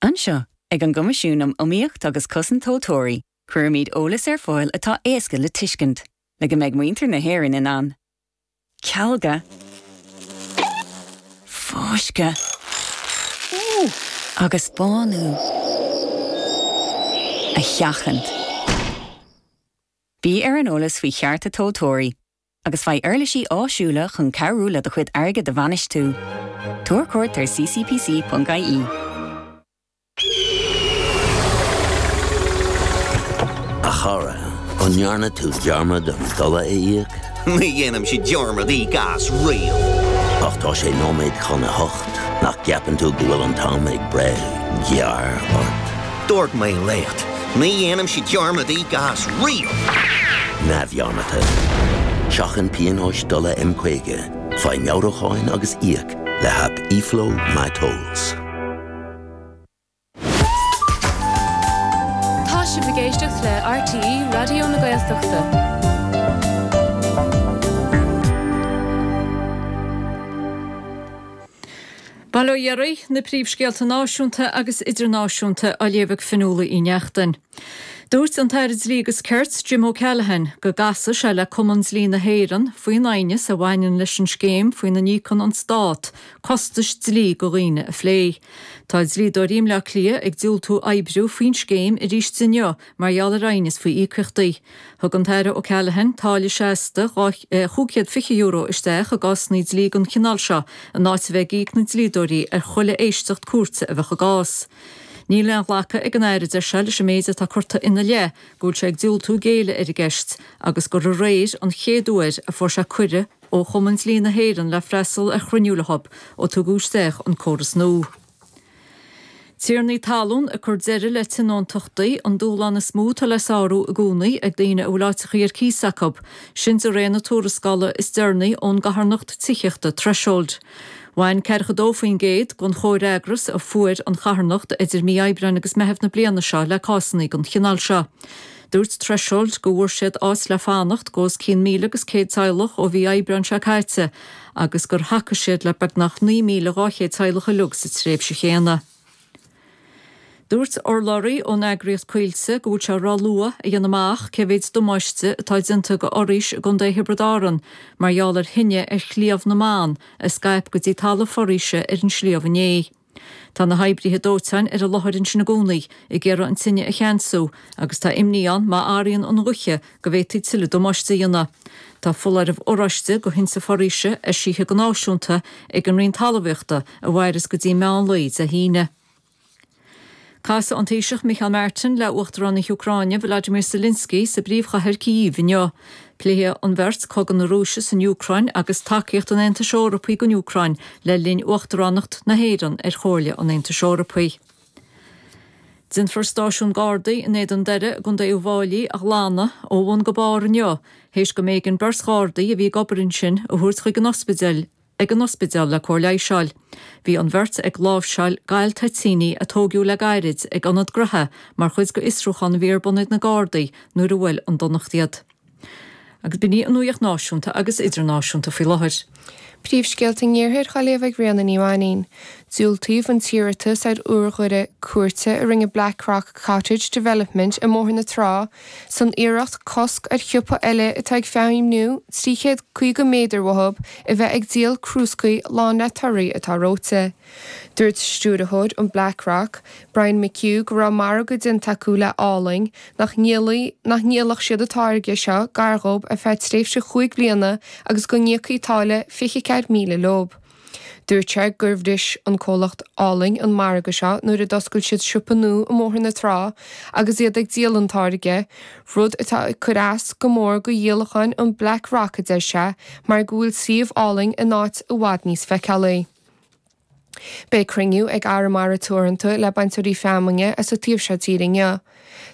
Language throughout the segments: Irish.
Anseo, ag an gCoimisiún um Iomaíocht agus Cosaint Tomhaltóirí, cuirimid eolas ar fáil atá éasca le tuiscint, le go mbeidh muintir na hÉireann in ann cealga, fáisceadh agus bánú a sheachaint. Bí ar an eolas faoi chearta tomhaltóirí agus faigh uirlisí áisiúla chun cabhrú le do chuid airgid a bhainistiú. Tabhair cuairt ar ccpc.ie. A chara, an ndearna tú dearmad an dola a íoc? Ní dhéanaimse dearmad íoc as riamh. Ach tá sé nóiméad chun a hocht, nach gceapann tú go bhfuil an t-am ag breith gearr ort? Dúirt mé leat, ní dhéanaimse dearmad íoc as riamh! Neamhdhearmadta. Seachain pionóis dola M50, faigh meabhrúcháin agus íoc le haip eFlow MyTolls. Tá sibh ag éisteacht le RTÉ Raidió na Gaeltachta. Bail ó Dhia oraibh, na príomhscéalta náisiúnta agus idirnáisiúnta á léamh ag Fionnuala Uí Neachtain. Dúirt an tAire Dlí agus Cirt, Jim O'Callaghan, go gcasfaidh sé le Cumann Dlí na hÉireann faoin aighneas a bhaineann leis an scéim faoina n-íocann an Stát costais dlí go dhaoine a phlé. Tá dlíodóirí i mBleá Cliath ag diúltú oibriú faoin scéim arís inniu mar gheall ar aighneas faoi íocaíochtaí. Thug an tAire O'Callaghan táille seasta €520 isteach i gcásanna dlí den chineál seo in áit a bheith ag íoc na dlíodóirí ar chuile éisteacht cúirte a bheadh i gcás. Níl aon ghlacadh ag an Aire, deir sé, leis an méid atá curtha ina leith go bhfuil sé ag diúltú géilleadh ar an gceist agus gur aréir an chéad uair a fuair sé cuireadh ó Chumann Dlí na hÉireann le freastal ar chruinniú leo ó tugadh isteach an córas nua. Tiarnaí talún ag cur deireadh le tionóntachtaí, an dúshlán is mó atá le sárú i gcónaí ag daoine a bhfuil áiteachaí ar cíos acu, sin de réir na tuarascála is deireanaí ón gcarthanacht tithíochta Threshold. Bhain 42% den chomhfhreagras a fuair an charthanacht idir mí Aibreáin agus Meitheamh na bliana seo le cásanna den chineál seo. Dúirt Threshold go bhfuair siad áit le fanacht go os cionn 1,100 teaghlach ó mhí Aibreáin seo caite agus gur thacaigh siad le beagnach 9,200 teaghlach uilig sa tréimhse chéanna. Dúirt urlabhraí ón eagraíocht Coillte go bhfuil sé ró-luath a dhéanamh amach cé mhéid damáiste atá déanta go fhoraois i gContae Thiobraid Árann mar gheall ar thine ar Shliabh na mBan a scaip go dtí talamh foraoise ar an sliabh inné. Tá na hoibrithe dóiteáin ar an láthair ansin i gcónaí ag iarraidh an tine a cheansú agus tá imní ann má athraíonn an ghaoth go bhféadfaí tuilleadh damáiste a dhéanamh. Tá foláireamh oráiste go thinte foraoise eisithe go náisiúnta ag an Roinn Talmhaíochta a mhairfeas go dtí meán lae Dé hAoine. Casfaidh an Taoiseach Micheál Martin le Uachtarán na hÚcráine Volodymyr Zelensky sa bpríomhchathair Kyiv inniu. Pléifidh an bheirt cogadh na Rúise san Úcráin agus tacaíocht an Aontais Eorpaigh don Úcráin le linn Uachtaránacht na hÉireann ar Chomhairle an Aontais Eorpaigh. Déanfar stáisiún Gardaí in Éadan Doire i gContae Uíbh Fháilí a ghlanadh ó bhun go barr inniu théis go mb'éigean beirt Ghardaí a bhí ag obair ansin a thabhairt chuig an ospidéal ag an ospidéal le cóir leighis a fháil. Bhí an bheirt ag láimhseáil gal toitíní a tóigeadh le gairid ag ionad gnoithe mar chuid de fhiosrúchán a bhí ar bun ag na Gardaí nuair a bhuail an donacht iad. Agus b'in í an nuacht náisiúnta agus idirnáisiúnta faoi láthair. Príomhscéalta an Iarthair á léamh ag Ríona Ní Mhainín. Diúltaíodh an t-iarratas ar urghaire cúirte a rinne Blackrock Cottage Development i mBóthar na Trá san iarracht cosc ar shiopa eile atá ag feidhmiú 350 méadar uathu a bheith ag díol crúscaí lán le torthaí atá reoite. Dúirt stiúrthóir an Blackrock, Brian McHugh go raibh margadh déanta acu le Álainn nach ndíolfadh siad an táirge seo gar dhób ar feadh tréimhse chúig bliana agus go n-íocfaí táille 24,000 leob. Dúirt sé gur bhris an comhlacht Álainn an margadh seo nuair a d'oscail siad siopa nua i mBóthar na Trá agus iad ag díol an táirge, rud atá ag cur as go mór go dhíolacháin an Black Rock a deir sé mar go bhfuil suíomh Álainn in áit i bhfad níos feiceálaí. Beidh cruinniú ag Arramara Teoranta le bainteoirí feamainne as an taobh seo tíre inniu.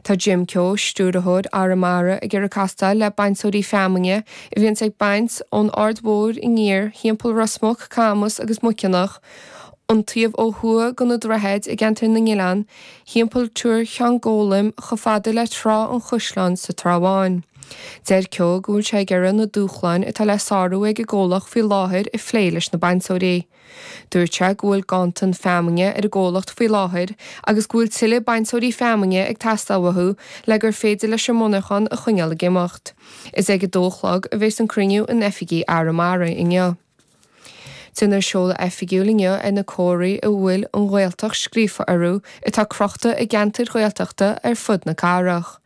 Tá Jim Keogh, Stiúrthóir Arramara, ag iarraidh castáil le bainteoirí feamainne a bhíonns ag baint ón Aird Mhór aniar thimpeall Ros Muc, Camas agus Muiceanach, an taobh ó thuaidh de na droichid i gceantar na nOileán, thimpeall Tuar Sheáin Gólaim chomh fada le Trá an Chaisleáin sa Trá Bháin. Deir Keogh go bhfuil sé ag iarraidh na dúshláin atá le sárú ag an gcomhlacht faoi láthair a phlé leis na bainteoirí. Dúirt sé go bhfuil ganntan feamainne ar an gcomhlacht faoi láthair agus go bhfuil tuilleadh bainteoirí feamainne ag teastáil uathu le gur féidir leis an monarchán a choinneáil ag imeacht. Is ag a dó a chlog a bheas an cruinniú in oifigí Arramara inniu. Déanfar seoladh oifigiúil inniu ar na comharthaí a bhfuil 'An Ghaeltacht' scríofa orthu atá crochta i gceantair Ghaeltachta ar fud na cathrach.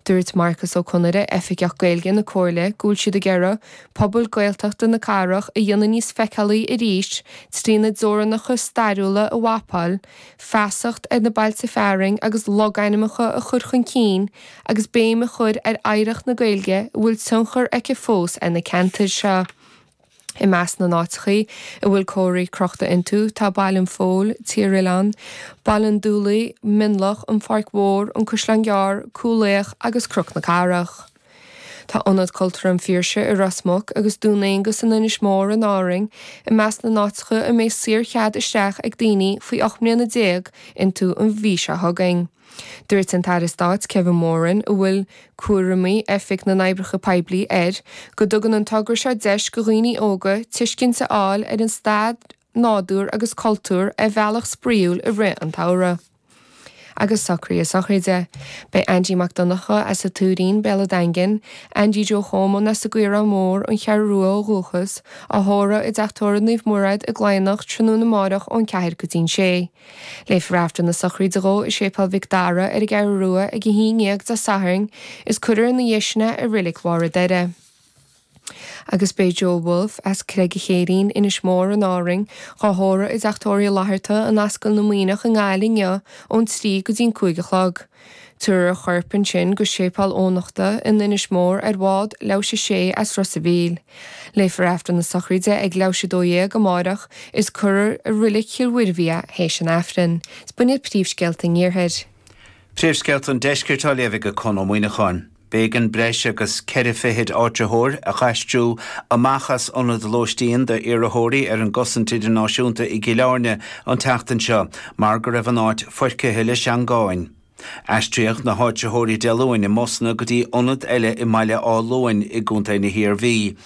Dúirt Marcas Ó Conaire, Oifigeach Gaeilge na Comhairle, go bhfuil siad ag iarraidh pobal Gaeltachta na cathrach a dhéanamh níos feiceálaí arís trína dteorainneacha stairiúla a mhapáil, feasacht ar na bailte fearainn agus logainmneacha a chur chun cinn agus béim a chur ar oidhreacht na Gaeilge a bhfuil tionchar aici fós ar na ceantair seo. I measc na n-áiteachaí a bhfuil comharthaí crochta iontu tá Baile an Phóil, Tír Oileáin, Baile an Dúlaigh, Mionlach, An Pháirc Mhór, An Caisleán Gearr, Cúil Aodha agus Cnoc na Cathrach. Tá Ionad Cultúrtha an Phiarsaigh i Ros Muc agus Dún Aonghus in Inis Mór in Árainn i measc na n-áiteacha a mbeidh saorchead isteach ag daoine faoi 18 mbliana iontu an mhí seo chugainn. Dúirt an tAire Stáit Kevin Moran, a bhfuil cúraimí Oifig na nOibreacha Poiblí air, go dtugann an togra seo deis go dhaoine óga tuiscint a fháil ar an stair, nádúr agus cultúr ar bhealach spraíúil i rith an tsamhraidh. Agus socruithe sochraide. Beidh Andy Mac Donncha as an Tuairín, Béal an Daingin, Andy Joe Chómán as an gCaorán Mór, An Cheathrú Rua ó dhúchas, á thórramh i dTeach Tórraimh Naomh Mairéad i gCladhnach tráthnóna amáireach ón 4 go dtí'n 6. Léifear Aifreann na sochraide dhó i Séipéal Mhic Dara ar an gCeathrú Rua ag a haon dhéag Dé Sathairn is cuirfear ina dhiaidh sin é i Reilig Bharr an Doire. Agus beidh Joe Wolfe as Creag a' Chéirín, Inis Mór in Árainn, dhá thórramh i dTeach Tórraimh Uí Fhlatharta in Ascaill na Muimhneach i nGaillimh inniu ón 3 go dtí'n 5 a chlog. Tabharfar a chorp ansin go Séipéal Eoghanachta in Inis Mór ar bhád Leabhais 6 as Ros a' Mhíl. Léifear Aifreann na sochraide ag leathuair théis 12 amáireach is cuirfear i Reilig Chill Mhuirbhigh é théis an Aifrinn. Is b'in iad príomhscéalta an Iarthair. Príomhscéalta an Deiscirt á léamh ag Conn Ó Muíneacháin. B'éigean breis agus ceithre fichid áitritheoir a dh'aistriú amach as ionad lóistín d'iarrthóirí ar an gcosaint idirnáisiúnta i gCill Airne an tseachtain seo mar go raibh an áit foircithe le seangáin. Aistríodh na háitritheoirí Dé Luain i mbusanna go dtí ionad eile i mBaile Átha Luain i gContae na hIarmhí.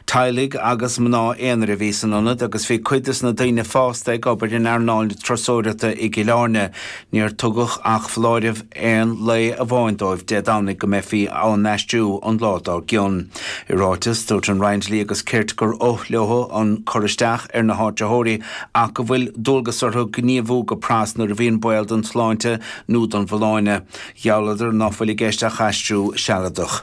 Teaghlaigh agus mná aonair a bhí san ionad agus bhí cuid des na daoine fásta ag obair in earnáil na turasóireachta i gCill Airne. Níor tugadh ach foláireamh aon lae amháin dóibh Dé Domhnaigh go mbeifí á n-aistriú an lá dár gcionn. I ráiteas, dúirt an Roinn Dlí agus Cirt gur oth leo an cur isteach ar na háitritheoirí ach go bhfuil dualgas orthu gníomhú go pras nuair a bhíonn baol don tsláinte nó don bhfolláine. Ghealladar ná fuil i gceist ach aistriú sealadach.